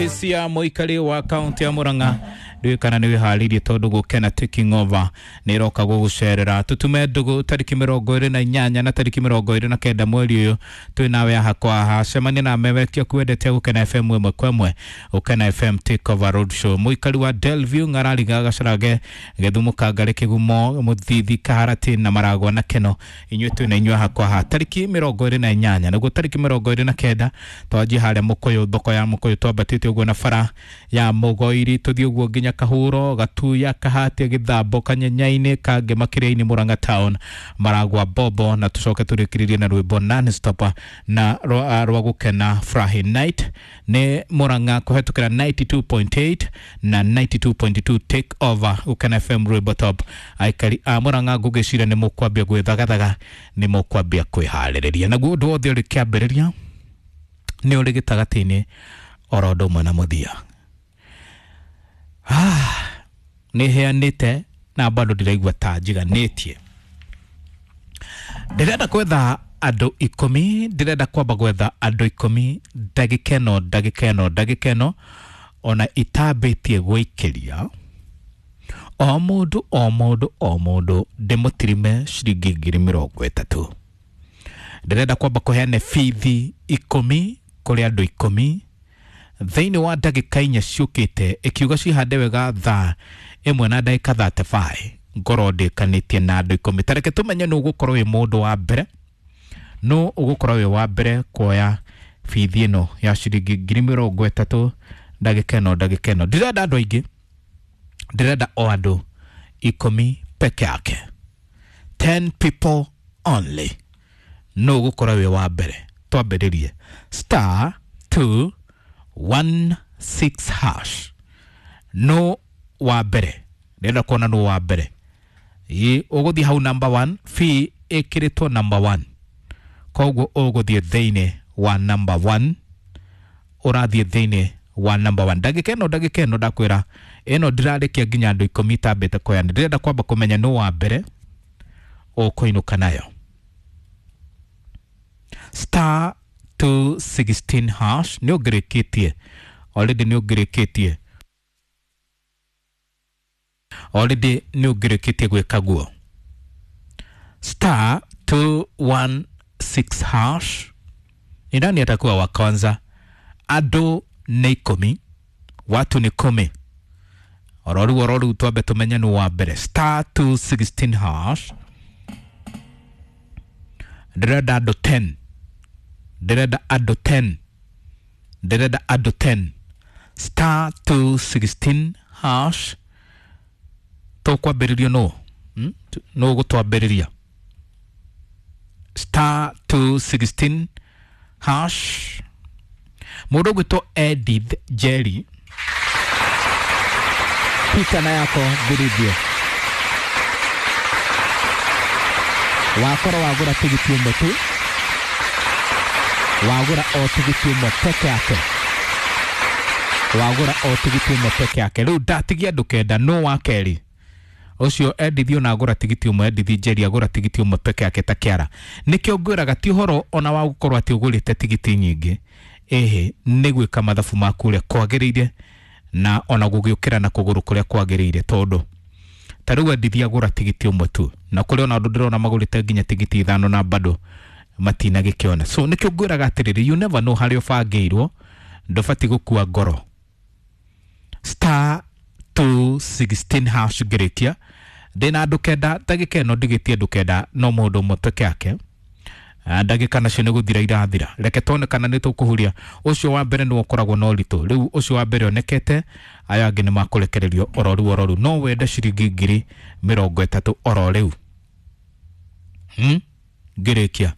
Muthisia muikari wa kaunti ya Murang'a ndiũĩ kana nĩ wĩharĩirie tondũ gũkena taking over nĩ ĩroka gũgũcerera. Tũtume ndũgũ tarĩki 28 na tarĩki 29 mweri ũyũ twĩ nawe haha kwa haha. Cemania na memerekia kwendete Gũkena FM ĩmwe kwa ĩmwe, Gũkena FM take over road show. Mũikari wa Delview, Ng'arariga, Gacarage, Gĩthumo, Kangari, Kĩgumo, Mũthithi, Kaharati na Maragwa na Keno, inyuĩ twĩ na inyuĩ haha kwa haha tarĩki 28 naguo tarĩki 29 twanjie harĩa Mũkũyũ, thoko ya Mũkũyũ, twambatĩte ũguo na bara ya Mũgoiri tũthiĩ ũguo nginya Kahuro, Gatuya, Kahatia, Gĩthambo, Kanyenyainĩ, Kangema, Kĩrĩa-inĩ, Murang'a town, Maragwa, Bobo, na tũcoke tũrĩkĩrĩrie na rwĩmbo non-stop na rwa Gũkena Friday night nĩ Murang'a kũhetũkĩra 92.8 na 92.2 take over Gũkena FM rwĩmbo top. Aikari a Murang'a ngũgĩciria nĩ mũkwambia gwĩthagathaga, nĩ mũkwambia kwĩharĩrĩria, naguo ũndũ wothe ũrĩ kĩambĩrĩria nĩ ũrĩ gĩtagatĩ-inĩ oro ũndũ ũmwe na mũthia. Nĩ heanĩte na bado ndĩraigua ta njiganĩtie. Ndĩrenda gwetha andũ 10, ndĩrenda kwamba gwetha andũ 10 ndagĩka ĩno, ndagĩka ĩno, ndagĩka ĩno ona itambĩtie gwĩikĩria o mũndũ o mũndũ o mũndũ ndĩmũtirime ciringi 30,000. Ndĩrenda kwamba kũheana bithi 10 kũrĩ andũ 10 thĩinĩ wa ndagĩka 4 ciũkĩte, ĩkiuga cihande wega thaa 1 na ndagĩka 35 ngorwo ndĩkanĩtie na andũ 10. Tareke tũmenye nũ ũgũkorwo wĩ mũndũ wa mbere, nũ ũgũkorwo wĩ wa mbere kuoya bithi ĩno ya ciringi 30,000 ndagĩka ĩno, ndagĩka ĩno. Ndirenda andũ aingĩ, ndĩrenda o andũ 10 peke yake, 10 people only. Nũ ũgũkorwo wĩ wa mbere? Twambĩrĩrie star 216 hash. No wa mbere, ndĩrenda kuona nũ wa mbere. Ĩ ũgũthiĩ hau number 1, fee ĩkĩrĩtwo number 1, koguo ũgũthiĩ thĩinĩ wa number 1, ũrathiĩ thĩinĩ wa number 1. Ndagĩka ĩno, ndagĩka ĩno ndakwĩra ĩno ndĩrarĩkia nginya andũ 10 itambĩte kuoya. Ndĩrenda kwamba kũmenya nũ wa mbere ũkũinũka nayo. Star 216 hash. Nĩ ũngĩrĩkĩtie already, nĩ ũngĩrĩkĩtie already, nĩ ũngĩrĩkĩtie gwĩka guo. Star 216 hash. Ni nani atakuwa wa kwanza? Andũ nĩ 10, watu ni 10. Ororu ororu twambe tũmenye nũ wa mbere. Star 216 hash. Ndĩrenda andũ 10, ndĩrenda andũ 10, ndĩrenda andũ 10. Star 216 hash. Tũkwambĩrĩrio nũ? Nũ ũgũtwambĩrĩria? Star 216 hash. Mũndũ ũgwĩtwo Edith Jerry, pita na yako vilivyo. Wakorwo wagũra tigiti ũmwe tu, wagũra o tigiti ũmwe peke yake, wagũra o tigiti ũmwe peke yake. Rĩu ndatigia andũ 9. Nũ wa kerĩ? Ũcio Edith ona agũra tigiti ũmwe, Edith Njeri agũra tigiti ũmwe peke yake ta kĩara. Nĩkĩo ngwĩraga ti ũhoro ona wa gũkorwo atĩ ũgũrĩte tigiti nyingĩ, ĩhĩ nĩ gwĩka mathabu maku ũrĩa kwagĩrĩire na ona gũgĩũkĩra na kũgũrũ kũrĩa kwagĩrĩire, tondũ ta rĩu Edith agũra tigiti ũmwe tu, na kũrĩ ona andũ ndĩrona magũrĩte nginya tigiti 5 na bado matinagĩkĩona. So nĩkĩo ngwĩraga atĩrĩrĩ, you never know harĩa ũbangĩirwo, ndũbatiĩ gũkua ngoro. Star 216 hash. Ngĩrĩkia ndĩna andũ 9 ndagĩka ĩno, ndigĩtie andũ 9 no mũndũ ũmwe peke yake. Ndagĩka nacio nĩ gũthira irathira, reke tuone kana nĩ tũkũhuria. Ũcio wa mbere nĩwe ũkoragwo na ũritũ. Rĩu ũcio wa mbere onekete, aya angĩ nĩ makũrekererio ororu ororu. No wende ciringi 30,000 oro rĩu? Ngĩrĩkia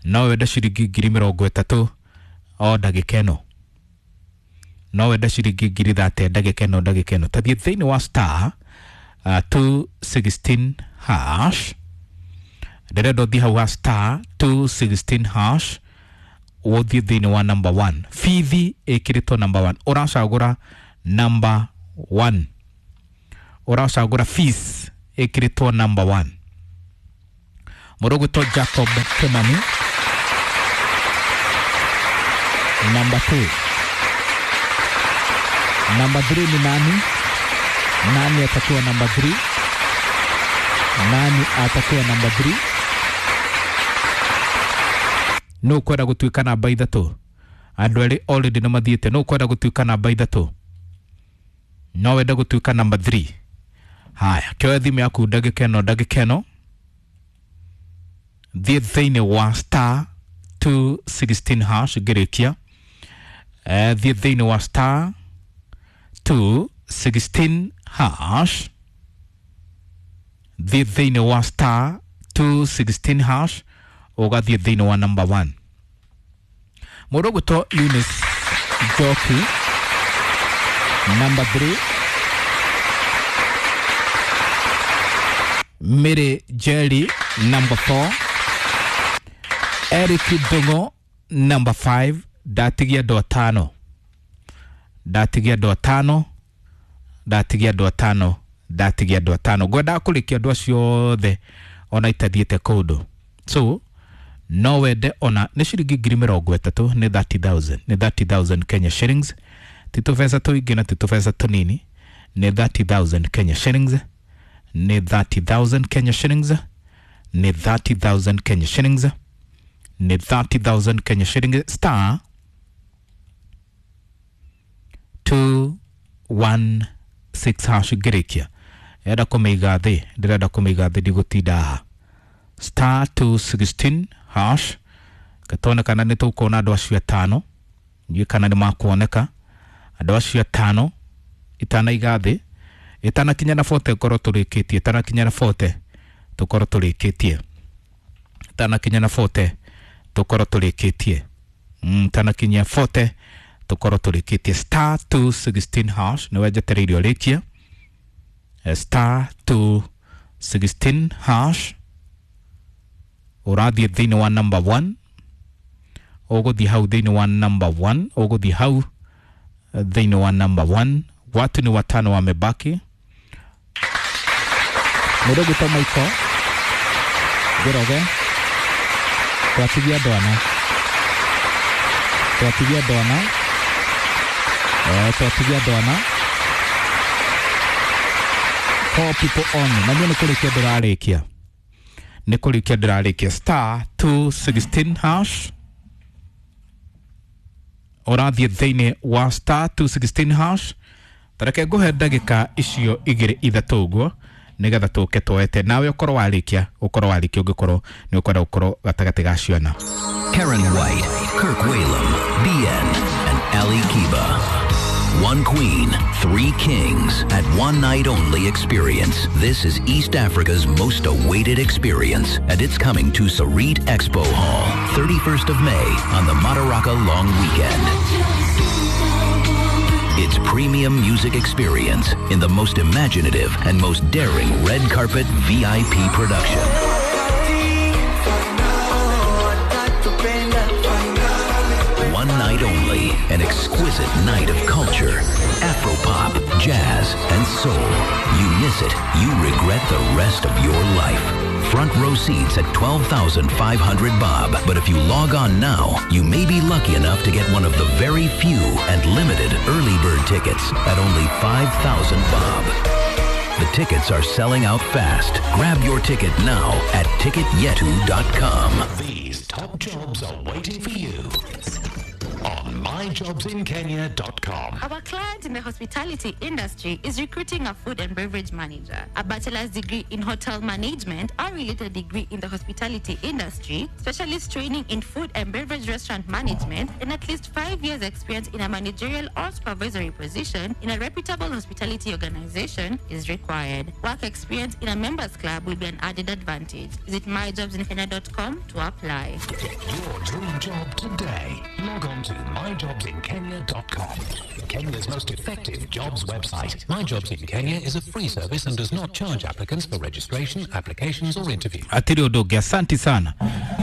no wende ciringi 30,000 o ndagĩka ĩno? No wende ciringi 30,000 ndagĩka ĩno, ndagĩka ĩno? Tathiĩ thĩinĩ wa star 216 hash. Ndĩrenda ũthiĩ hau ha star 216 hash, ũthiĩ thĩinĩ wa number 1. Bithi ĩkĩrĩtwo number 1, ũracagũra number 1, ũracagũra fees ĩkĩrĩtwo number 1. Mũndũ ũgwĩtwo Jacob Kimani, number 2. Namba 3 ni nani? Nani atakuwa namba 3? Nani atakuwa namba 3? No kwenda gutuika namba 3. Andu eri already nĩ mathiĩte. No kwenda gutuika namba 3. No wende gutuika namba 3. Haya, kĩoe thimũ yaku ndagĩka ĩno, ndagĩka ĩno. Thiĩ thĩinĩ wa star 216 hash ngĩrĩkia. Thiĩ thĩinĩ wa star 216 hash. Thiĩ thĩinĩ wa star 216 hash ũgathiĩ thĩinĩ wa number 1. Mũndũ ũgwĩtwo Eunice Njoki, number 3. Mary Jerry, number 4. Eric Ndung'u, number 5. Ndatigia andũ atano, ndatigia andũ atano, ndatigia andũ atano, ndatigia andũ atano. Ngwendaga kũrĩkia andũ acio othe ona itathiĩte kũndũ. So no wende ona nĩ ciringi 30,000, nĩ 30,000, nĩ 30,000 Kenya shillings. Ti tũbeca tũingĩ na ti tũbeca tũnini, nĩ 30,000 Kenya shillings, nĩ 30,000 Kenya shillings, nĩ 30,000 Kenya shillings, nĩ 30,000 Kenya shillings. Star 216 hash ngĩrĩkia. Enda kũmĩiga thĩ, ndĩrenda kũmĩiga thĩ, ndigũtinda haha. Star 216 hash gatone kana nĩ tũkuona andũ acio atano. Ndiũĩ kana nĩ makuoneka andũ acio atano. Itanaiga thĩ, ĩtanakinya na 40 ngorwo tũrĩkĩtie, ĩtanakinya na 40 tũkorwo tũrĩkĩtie, ĩtanakinya na 40 tũkorwo tũrĩkĩtie, ĩtanakinya 40 tũkorwo tũrĩkĩtie. Star 216 hash nĩwe njetereire ũrĩkie. Star 216 hash ũrathiĩ thĩinĩ wa number 1, ũgũthiĩ hau thĩinĩ wa number 1, ũgũthiĩ hau thĩinĩ wa number 1. Watu ni watano wamebaki. Mũndũ ũgwĩtwo Michael Njoroge, twatigia andũ ana, twatigia andũ ana, twatigia andũ ana. 4 people on. Na niĩ nĩ kũrĩkia ndĩrarĩkia, nĩ kũrĩkia ndĩrarĩkia. Star 216 hash ũrathiĩ thĩinĩ wa star 216 hash. Tareke ngũhe ndagĩka icio igĩrĩ ithatũ ũguo nĩgetha tũke twete nawe ũkorwo warĩkia, ũkorwo warĩkia ũngĩkorwo nĩ ũkwenda gũkorwo gatagatĩ ga ciana. Karen White, Kirk Whalum, BN, and Ali Kiba. One queen, 3 kings at one night only experience. This is East Africa's most awaited experience, and it's coming to Sarit Expo Hall, 31st of May on the Madaraka Long Weekend. It's premium music experience in the most imaginative and most daring red carpet VIP production. One night only, an exquisite night of culture, Afropop, jazz, and soul. You miss it, you regret the rest of your life. Front row seats at 12,500 bob. But if you log on now, you may be lucky enough to get one of the very few and limited early bird tickets at only 5,000 bob. The tickets are selling out fast. Grab your ticket now at ticketyetu.com. These top jobs are waiting for you on myjobsinkenya.com. Our client in the hospitality industry is recruiting a food and beverage manager, a bachelor's degree in hotel management or related degree in the hospitality industry, specialist training in food and beverage restaurant management, and at least 5 years experience in a managerial or supervisory position in a reputable hospitality organization is required. Work experience in a members club will be an added advantage. Visit myjobsinkenya.com to apply. Get your dream job today. Log on to myjobsinkenya.com. Kenya's most effective jobs website. My Jobs in Kenya is a free service and does not charge applicants for registration, applications or interviews. Atiri ũndũ ũngĩ, asanti sana.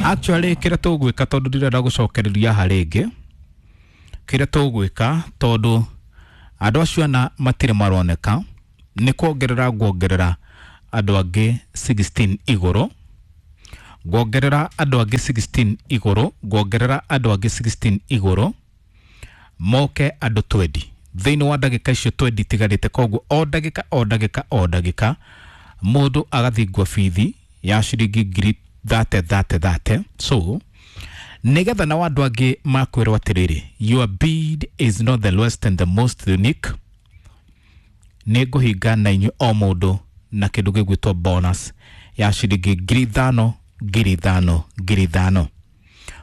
Actually kĩrĩa tũgwĩka tondũ ndirenda gũcokereria haha rĩngĩ, kĩrĩa tũgwĩka tondũ andũ acio ana matirĩ maroneka, nĩ kuongerera nguongerera andũ angĩ 16 igũrũ, nguongerera andũ angĩ 16 igũrũ, nguongerera andũ angĩ 16 igũrũ, moke andũ 20. Thĩinĩ wa ndagĩka icio 20 itigarĩte, koguo o ndagĩka o ndagĩka o ndagĩka mũndũ agathingwo bithi ya ciringi ngiri thate thate thate. So nigetha na andũ angĩ makwĩrwo atĩrĩrĩ, your bid is not the lowest and the most unique, nĩ ngũhinga na inyuĩ o mũndũ na kĩndũ gĩgwĩtwo bonus ya ciringi 5,000 5,000 5,000.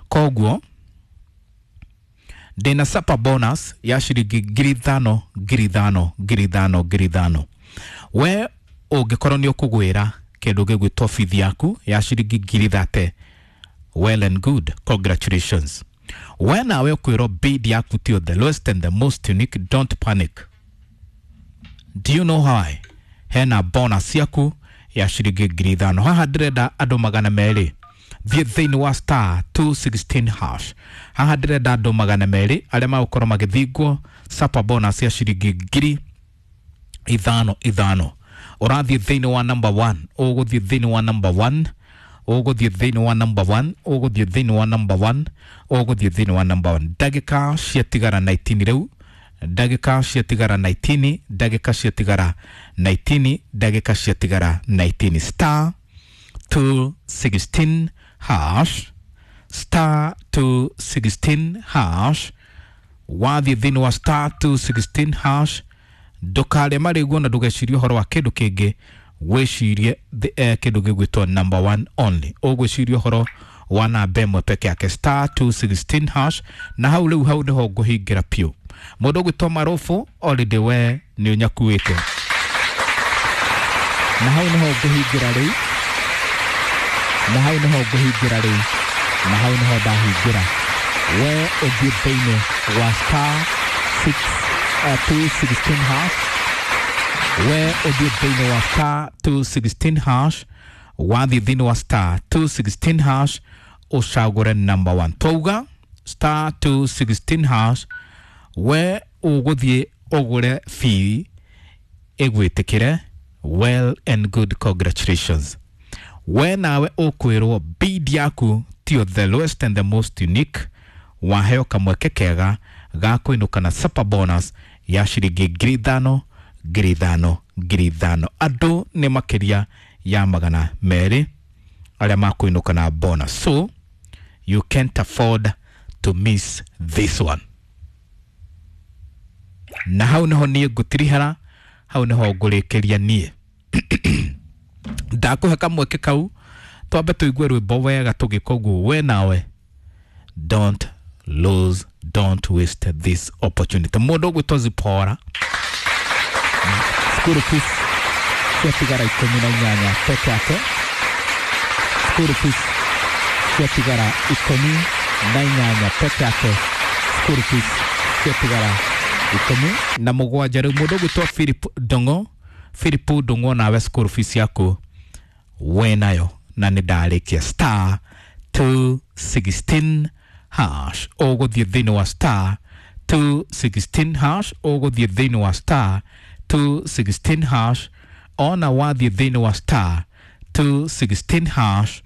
Koguo ndĩna supper bonus ya ciringi 5,000 5,000 5,000 5,000. We ũngĩkorwo nĩ ũkũgwĩra kĩndũ gĩgwĩtwo bithi yaku ya ciringi 30,000, well and good, congratulations. We nawe ũkwĩrwo bid yaku tio the lowest and the most unique, don't panic. Do you know why? Hena bonus yaku ya ciringi 5,000. Haha ndĩrenda andũ 200 thiĩ thĩinĩ wa star 216 hash. Haha ndĩrenda andũ 200 arĩa magũkorwo magĩthingwo supper bonus ya ciringi 5,000 5,000. Ũrathiĩ thĩinĩ wa number 1, ũgũthiĩ thĩinĩ wa number 1, ũgũthiĩ thĩinĩ wa number 1, ũgũthiĩ thĩinĩ wa number 1, ũgũthiĩ thĩinĩ wa number 1. Ndagĩka ciatigara 19 rĩu, ndagĩka ciatigara 19, ndagĩka ciatigara 19, ndagĩka ciatigara 19. Star 216 hash, star 216 hash. Wathiĩ thĩinĩ wa star 216 hash, ndũkarĩe marĩguo na ndũgecirie ũhoro wa kĩndũ kĩngĩ, wĩcirie kĩndũ gĩgwĩtwo number 1 only. Ũgwĩciria ũhoro wa namba ĩmwe peke yake, star 216 hash. Na hau rĩu hau nĩho ngũhingĩra piũ. Mũndũ ũgwĩtwo Marufu already we nĩ ũnyakuĩte, na hau nĩho ngũhingĩra rĩu, na hau nĩho ngũhingĩra rĩu, na hau nĩho ndahingĩra. We ũthiĩ thĩinĩ wa star 216 hash, we ũthiĩ thĩinĩ wa star 216 hash, wathiĩ thĩinĩ wa star 216 hash ũcagũre number 1. Twauga star 216 hash, we ũgũthiĩ ũgũre fee ĩgwĩtĩkĩre, well and good, congratulations. We nawe ũkwĩrwo bid yaku tio the lowest and the most unique, waheo kamweke kega ga kũinũka na supper bonus ya ciringi 5,000 5,000 5,000. Andũ nĩ makĩria ya 200 arĩa makũinũka na bonus, so you can't afford to miss this one. Na hau nĩho niĩ ngũtirihara, hau nĩho ngũrĩkĩria niĩ. Ndakũhe kamweke kau twambe tũigue rwĩmbo wega tũgĩka ũguo. We nawe don't lose, don't waste this opportunity. Mũndũ ũgwĩtwo Zipora, school fees ciatigara 18 peke yake, school fees ciatigara 18 peke yake, school fees ciatigara 17. Rĩu mũndũ ũgwĩtwo Philip Ndong'o, Philip Ndong'o nawe school fees yaku we nayo, na nĩ ndarĩkia. Star 216 hash, ũgũthiĩ thĩinĩ wa star 216 hash, ũgũthiĩ thĩinĩ wa star 216 hash. Ona wathiĩ thĩinĩ wa star 216 hash,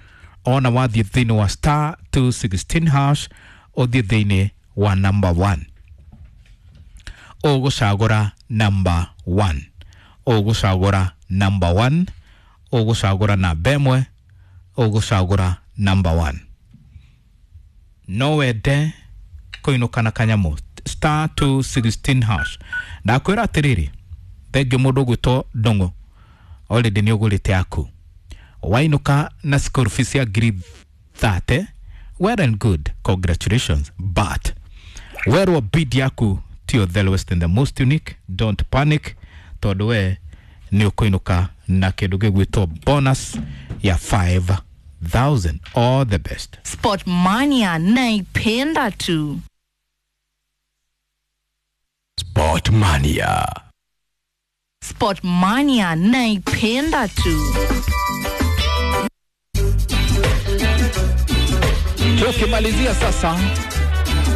ona wathiĩ thĩinĩ wa star 216 hash, ũthiĩ thĩinĩ wa number 1, ũgũcagũra number 1, ũgũcagũra number 1, ũgũcagũra namba ĩmwe, ũgũcagũra number 1. No wende kũinũka na kanyamũ, star 216 hash. Ndakwĩra atĩrĩrĩ, thengiũ mũndũ ũgwĩtwo Ndong'o already nĩ ũgũrĩte yaku, wainũka na school fees ya 30,000, well and good, congratulations, but werwo bid yaku tio the lowest and the most unique, don't panic, tondũ we nĩ ũkũinũka na kĩndũ gĩgwĩtwo bonus ya 5,000. All the best. Sport Mania naipenda tu. Sport Mania. Sport Mania naipenda tu. Tukimalizia sasa